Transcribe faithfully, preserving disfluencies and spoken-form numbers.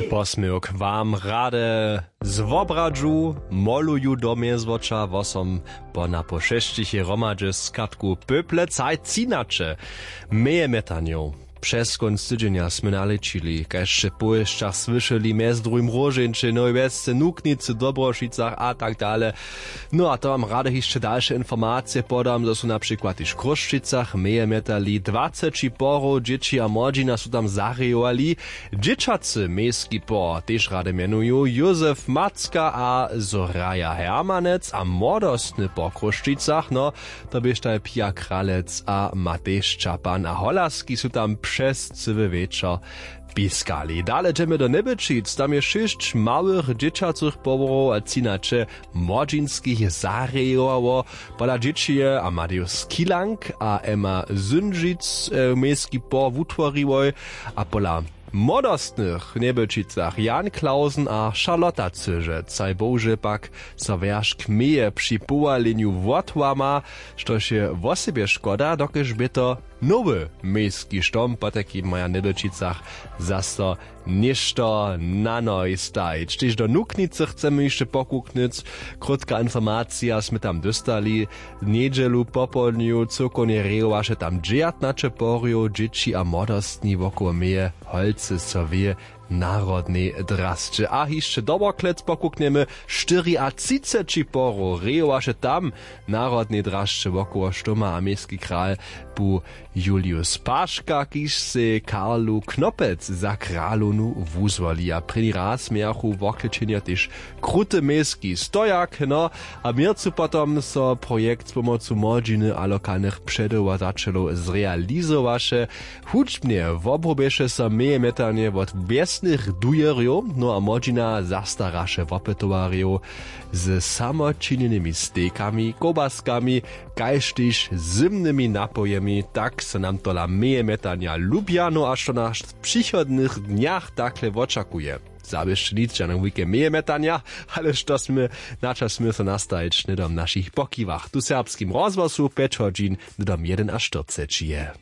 Posměwk wam rady z wobradźu moluju do mjezwoča wosom po napoł šesćich je hromadźe z kartku pöple caj cinaće. Mejemjetanjow přez kónc tydźenja smy nalěčili kaž sće w powěsćach słyšeli mjez druhim róžeńće nowej wjesce nuknicy w dobrošicach a tak dale. No a to wam rady hišće dalše informacije podam zo su na přikład tež w chrósćicach mejemjetali dwaceći porow dźěći a młodźina su tam zarejowali. Dźěćacy mejski por tež rady mjenuju józef macka a zoraja hermanec a młodostny po chrósćicach no to běštaj pija kralec a matej šćapan a holarski su tam přez cyły wječor. Piskali dale dźemy do njebelčic tam je šěsć małych dźěćacych porow a cinaće młodźinskich zarejowało. Pola dźěćije amadeus kilang a emma syndźic mejski por wutworiłoj a pola młodostnych w njebelčicach jan klausen a charlotta cyže caj bohužel pak so wjeršk meje při powalenju wotłama, štož je wosebje škoda dokelž bě to nowy mejski štom potajkim maja w njebelčicach zaso něšto na nohi stajić tež do nuknicy chcemy hišće pokuknyć. Krótka informacija smy tam dóstali. Njedźelu popołdnju cyłkownje rejowaše tam dźewjatnaće porjow dźěći a młodostni wokoło meje holcy so wě w narodnej drasće a hišće doboklec pokuknjemy. Štyriatřiceći porow rejowaše tam w narodnej drasće wokoło štoma a mejski kral bu julius paška kiž sej karlu knopec za kralownu wuzwoli a prěni raz mějachu woklećenjo tež krute mejski stojak no. A w měrcu potom so projekt z pomocu młodźiny a lokalnych předewzaćelow zrealizowaše. Hudźbnje wobrobješe so mejemjetanje wot wjesnych dujerjow no a młodźina zastaraše wopytowarjow ze samočinjenymi stejkami kołbaskami kaž tež zymnymi napojemi tak so nam tola mejemjetanja lubja no a što nas w přichodnych dnjach takle wočakuje. Zawěsće nic žane wujke mejemjetanja ale što smy na čas smy so nastajić hnydom w našich pokiwach tu w serbskim rozhłosu pjeć hodźin hnydom jedenaštyrceći je.